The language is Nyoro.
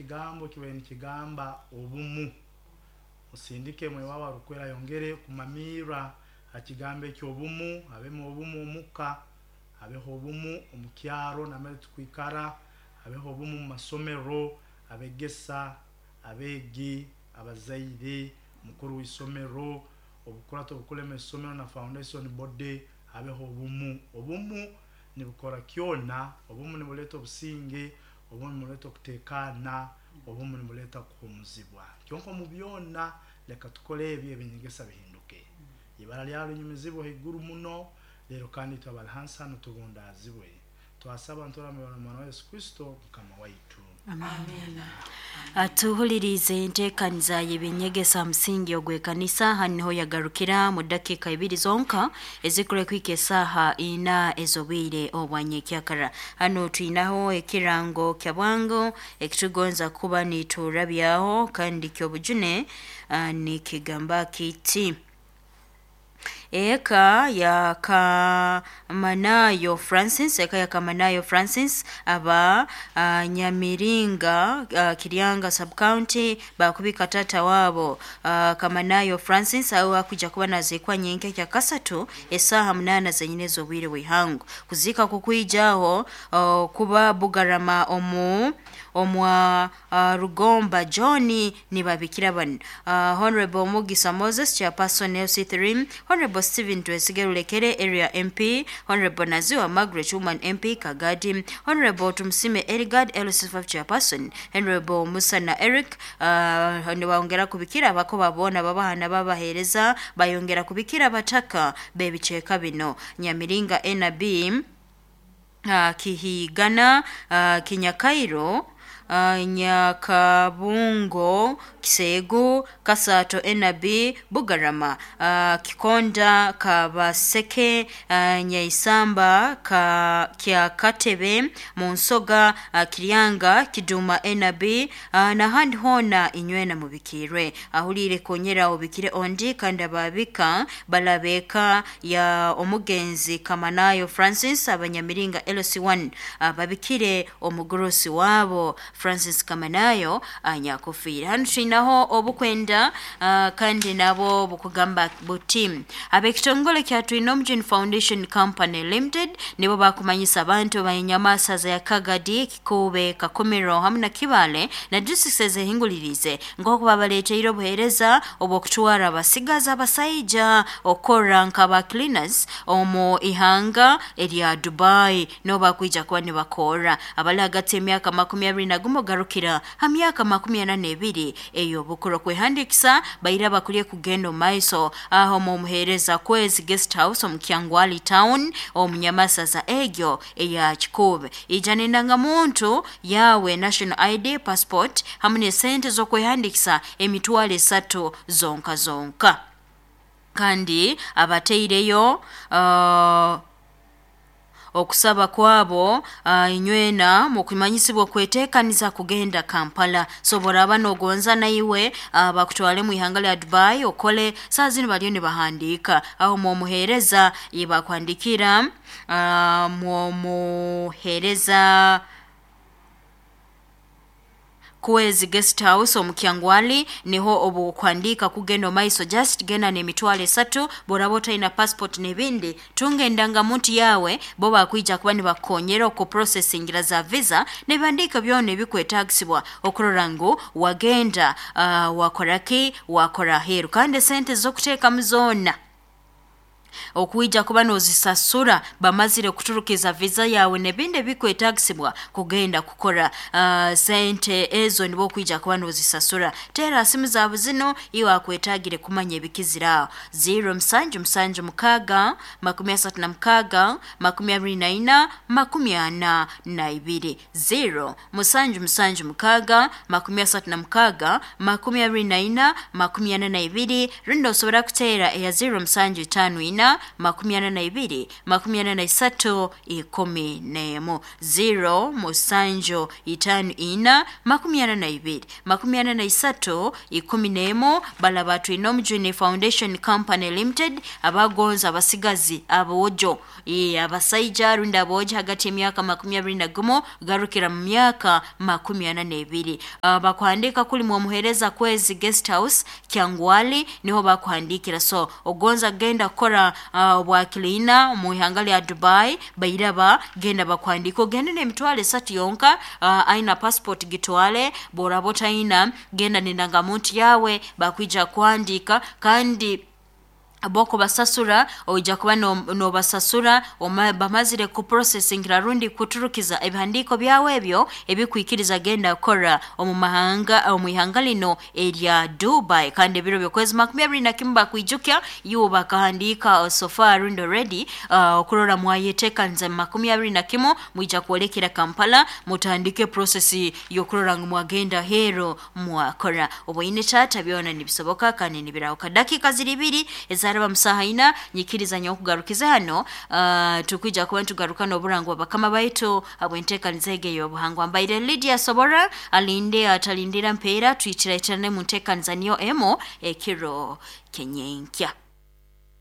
Ekigambo kibaire nikigamba obumu. Osindike mwoyo wawe arukwera ayongere kumamiirra ha kigambo eky'obumu, habemu obumu omuka, habeho obumu omu kyaro nambere tukwikara, habeho obumu mu masomero, abegesa, abeegi, abazaire, mukuru w'isomero, obukurato obukulema isomero na foundation body, habeho obumu. Obumu nibukora kyona, obumu nibuleeta obusinge, obumu nibuleeta okuteekaana, obumu nibuleeta kuhuumuzibwa. Kyonka omu byona, leka tukole ebi eby'enyegesa bihinduke. Ibara lyawe linyumizibwe haiguru muno, leero kandi itwe abali hansi hanu tubundaazibwe. Twasaba nturamya Omwana wa Yesu Kristo Mukama waitu. Atuhulirize enteekaniza y'ebyenyegesa ha musingi ogw'ekanisa. Hanu niho yagarukira mu dakiika ibiri zonka ezikure kuhika esaaha ina ez'obwire obwa nyekyakara. Hanu twinaho ekirango kya bwangu ekitugonza kuba niturabyaho kandi ky'obujune, nikigamba kiti: eka ya Kamanayo Francis, eka ya Kamanayo Francis aba Nyamiringa, Kiryanga sub county, bakubika tata wabo Kamanayo Francis aho akuja kuba naziikwa nyenke kya kasatu esaaha 8 zenyine ez'obwire bw'ihangu. Kuziika kukwijaho kuba Bugarama omu omwa Rugomba John nibabikira banu Honorable Mugisa Moses, Chairperson LC3, Honorable Stephen Twesige Rulekere, Area MP, Honorable Naziwa Margaret, Woman MP Kagadi, Honorable Tumsime Erigard, LC5 Chairperson, Honorable Musana Eric. Nibongera kubikira abako babona babahana babahereza, bayongera kubikira abataka b'ebicweka bino: Nyamiringa NB, Kihigana, Kinyakairo, Nyakabungo, Kisegu, Kasato NB, Bugarama, Kikonda, Kabaseke, Nyaisamba, Kyakatebe, Munsoga, Kiryanga, Kiduma NB, n'ahandi hoona inywena mubikirwe. Ahuliire konyera obikire ondi. Kandi ababika balabeka ya omugenzi Kamanayo Francis abanyamiringa LC1, babikire omugurusi wabo Francis Kamanayo anyakufiire. Hanu twinaho obukwenda, kandi nabo bukugamba buti: ab'ekitongole kya Twinomujuni Foundation Company Limited nibo bakumanyisa abantu b'enyamasaza ya Kagadi, Kikuube, Kakumiro hamu na Kibale na districts ezehingulirize nk'oku babaleeteire obuheereza obw'okutwara abasigazi abasaija okukora nk'aba cleaners omu ihanga erya Dubai, nibo bakwija kuba nibakorra abali hagati y'emyaka 21 garukira ha myaka 42 ey'obukuru. Kwehandikisa baire abakuliye kugenda omu maiso aho omu muheereza Kwezi Guest House omu Kyangwali Town omu nyamasaza egyo eya Kikuube. Ija n'endangamuntu yawe, national ID, passport hamu n'esente z'okwehandikisa 3000 zonka zonka. Kandi abataireyo okusaba kwabo, inywena mukumanyisibwa okweteekaniza kugenda Kampala. So boraba nogonza naiwe bakutwale mu ihanga lya Dubai okole, saa zinu baliyo nibahandiika aho mwomuheereza yebakuhandikira, mwomuheereza Kwezi Guest House omu Kyangwali niho obukuhandiika kugenda omu maiso. Just genda n'3000. Boraba otaina passport n'ebindi, tunga endangamuntu yawe, bo bakwija kuba nibakukonyera okuprocessingira za visa n'ebihandiiko byona ebikwetaagisibwa okurora ngu wagenda, wakora ki, wakora aheeru. Kandi esente z'okuteekamu zoona okwija kuba nozisasura bamazire kuturukiza visa yawe n'ebindi ebikwetaagisibwa kugenda kukora, sente ezo nibo okwija kuba nozisasura. Teera simu zaabo zino iwe akwetaagire kumanya ebikizire aho: 0 7 7 6 36 24 42, 0 7 7 6 36 24 42. Rundi osobora kuteera eya 0 7 5 4. ina 42 43 11 0 musanju 54 22 43 11. Balaba twine Omujuni Foundation Company Limited abagonza abasigazi abojo, abasaija rundi abojo hagati y'emyaka 21 garukira mu myaka 42. Bakuhandika kuli mwomuhereza Kwezi Guest House Kyangwali, niho bakuhandikira. So ogonza genda kukora obwakilina mu ihanga lya Dubai, bairaba genda bakuhandika, ogende n'emitwalo 3 yonka. Aina passport gitwale, boraba otaina genda n'endangamuntu yawe, bakwija kuhandika. Kandi boko basasura, oija kuba nobasasura bamazire kuprocessingira rundi kuturukiza ebihandiiko byawe ebyo ebikwikiriza genda kukora omu mahanga, omu ihanga lino erya Dubai. Kandi ebiro by'okwezi 21 bakwijukya iwe bakahandika so far rundi already, okurora mwayeteekaniza mu 21 mwija kwolekera Kampala, mutandike process y'okurora ngu mwagenda hero mwakora. Obwoine taata byona nibisoboka kandi nibirahuka. Dakika ziri ibiri ezaraba musaha ina, nyikirizanya okugarukiza hano. Tukwija kuba nitugaruka n'oburango bakama baitu abwenteekaniza ege y'obuhangwa. Mbaire Lydia Sobora alinde atalindira mpeera, twitiraitirane mu nteekaniza niyo emo ekiro kenyenkya.